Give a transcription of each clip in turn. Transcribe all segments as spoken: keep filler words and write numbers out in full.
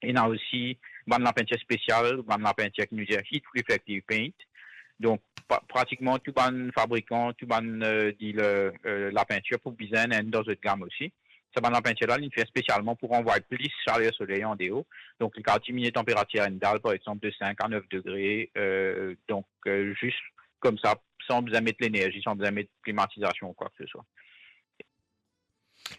Ena osi bann lapintir spesial, bann lapintir ki nou dir heat reflective paint. Donk, pra-, pratikman tou bann fabrikan, tou bann, eh, dealer, eh, lapintir pou bizin ena enn dan zot gam osi. Sa bann lapintir la, li fer spesialman pou ranvway plis saler soley andeor. Donk, li kapav diminie tanperatir enn dal, par exanp, de sink a nef degre. Eh, donk, eh, zis koumsa, san bizin met lenerzi, san bizin met klimatizasion ou kwa ke se swa.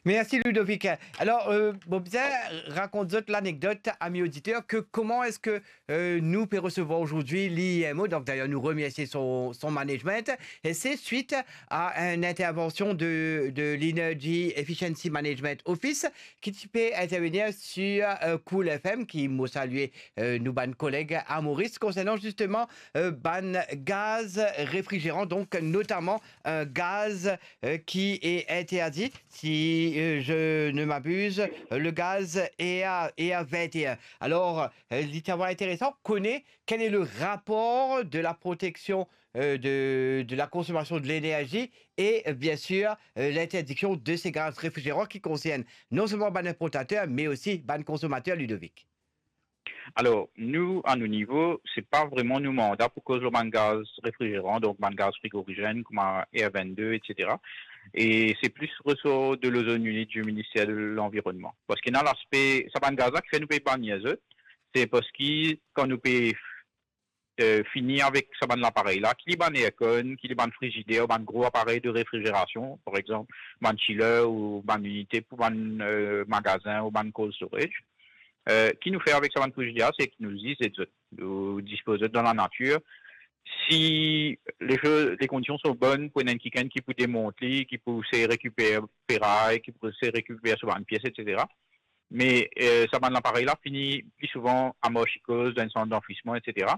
Mersi, Ludovic. Alor, eh, mo bizin rakont zot lanekdot, ami oditer, ke kouma eski, eh, nou pe resevwar azordi l'I M O, donk dayer nou remersie son, son management, e se swit a enn intervansion de, de l'Energy Efficiency Management Office ki ti pe intervenir sir, eh, Cool F M, ki mo salie, eh, nou bann koleg a Moris, konsernan zisteman, eh, bann gaz refrizeran, donk notaman, eh, gaz, eh, ki e interdi, si, eh, je ne m'abuse, eh, le gaz E A, E A vingt et un. Alor, eh, li ti ava interesan kone quel est le rapport de la protection, eh, de, de la consommation de l'énergie et, eh, bien sûr, eh, l'interdiction de ces gaz réfrigérants qui concerne non seulement bann inportater, me osi bann konsomater, Ludovic. Alor, nou, a nou nivo, se pa vreman nou manda pou koz lor bann gaz refrizeran, donk bann gaz frigorizenn, kouma R vingt-deux, et cetera. E se plis resor de l'Ozone Unit du Ministère de l'Environnement. Parski ena laspe, sa bann gaz la ki fer nou pe bann zot, se parski kan nou pe, eh, fini avek sa bann laparey la, ki li bann aircon, ki li bann frizider, bann gro aparey de refrizerasion, par exanp, bann chiller ou bann inite pou bann, eh, magazin ou bann cold storage. Eh, ki nou fer avek sa bann frizider la, se ki nou zis zet zot, nou dispoz zot dan lanatir. Si le, le kondision son bonn pou ena enn kikenn ki pou demont li, ki pou sey rekiper feray, ki pou sey rekiper so bann pies, et cetera. Me, eh, sa bann laparey la fini pli souvan amarse koz dan enn sant danfrisman, et cetera.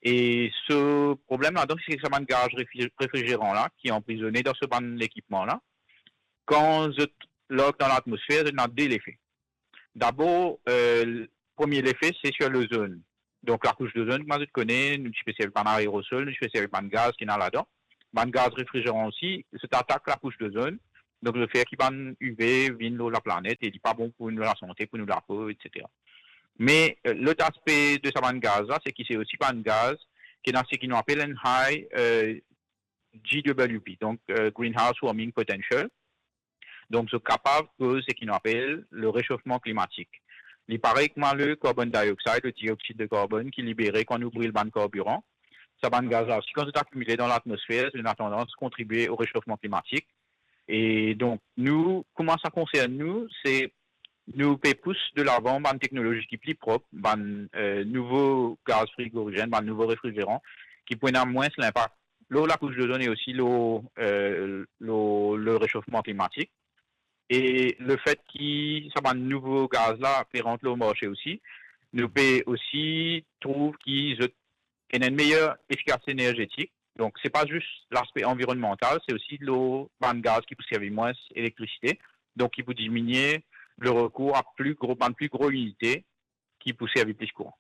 E so problem la, donk, se sa bann gaz refri-, refrizeran la, ki anprizone dan so bann lekipman la, kan zot larg dan latmosfer, zot ena de lefe. Dabor, eh, premie lefe, se sir lozonn. Donk, lakous dozonn, kouma zot kone, nou ti pe servi bann aerosol, nou ti pe servi bann gaz ki ena ladan. Bann gaz refrizeran osi, zot atak lakous dozonn. Donk, zot fer ki bann U V vinn lor laplanet e li pa bon pou nou lasante, pou nou lapo, et cetera. Me, eh, lot aspe de sa bann gaz la, se ki se osi bann gaz ki ena seki nou apel enn high, eh, G W P, donk, eh, Greenhouse Warming Potential. Donk, zot kapav koz seki nou apel le réchauffement climatique. Li parey kouma le carbon dioxide, le dioxyde de carbone ki libere kan nou bril bann karbiran. Sa bann gaz la osi, kan zot akimile dan latmosfer, zot ena tandans kontribie o rechofman klimatik. E donk, nou, kouma sa konsern nou, se nou pe pous de lavan bann teknolozi ki pli prop, bann, eh, nouvo gaz frigorizenn, bann nouvo refrizeran, ki pou ena mwins linpak lor lakous dozonn e osi lor, eh, lor le réchauffement climatique. E lefet ki sa bann nouvo gaz la pe rant lor marse osi, nou pe osi trouv ki zot ena enn meyer efikasite enerzetik. Donk, se pa zis laspe anvironmantal, se osi lor bann gaz ki pou servi mwins elektrisite, donk ki pou diminie le rekour a pli gro, bann pli gro inite ki pou servi plis kouran.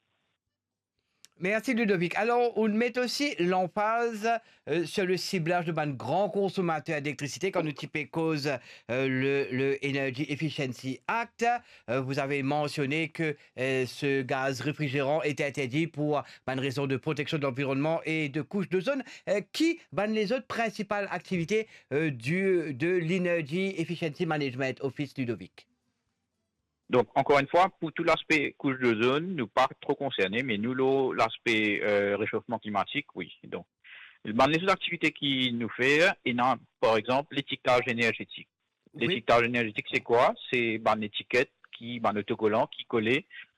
Mersi, Ludovic. Alor, ou met osi lanfaz, eh, sur le ciblage de bann gran konsomater d'elektrisite, kan nou ti pe koz, eh, le, le Energy Efficiency Act. Eh, vous avez mentionné que, eh, ce gaz réfrigérant est interdit pour bann rezon de protection de l'environnement et de couche d'ozone. Eh, ki bann lezot prinsipal aktivite, eh, du, de l'Energy Efficiency Management Office, Ludovic? Donk, ankor enn fwa, pou tou laspe kous dozonn, nou pa tro konserne, me nou, lor laspe, eh, rechofman klimatik, wi. Donk, bann lezot aktivite ki nou fer, ena, par exanp, letiketaz enerzetik. Wi. Letiketaz enerzetik, se kwa? Se bann etiket ki, bann otokolan ki kole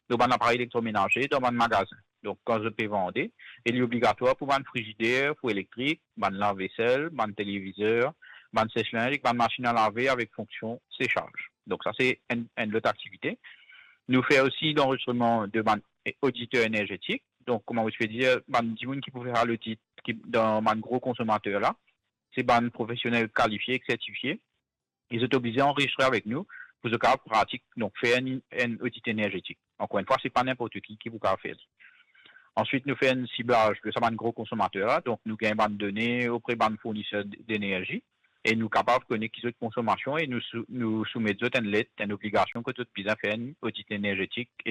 lor bann aparey elektromenaze dan bann magazin. Donk, kan zot pe vande, e li obligatwar pou bann frizider, fou elektrik, bann lavvesel, bann televizer, bann seslinz ek bann masinn a lave avek fonksion sesaz. Donk, sa se enn, enn lot aktivite. Nou fer osi lanrezistreman de bann oditer enerzetik. Donk, kouma ou ti pe dir, bann dimoun ki pou fer sa lodit, ki dan bann gro konsomater la, se bann profesionel kalifie ek sertifie. E zot oblize anrezistre avek nou pou zot kapav pratik, donk fer enn, enn odit enerzetik. Ankor enn fwa, se pa ninport ki ki pou kapav fer li. Answit, nou fer enn siblaz de sa bann gro konsomater la, donk nou gagn bann done opre bann fourniser d-, denerzi, e nou kapav kone ki zot konsomasion e nou sou-, nou soumet zot enn let, enn obligasion ki zot bizin fer enn odit enerzetik e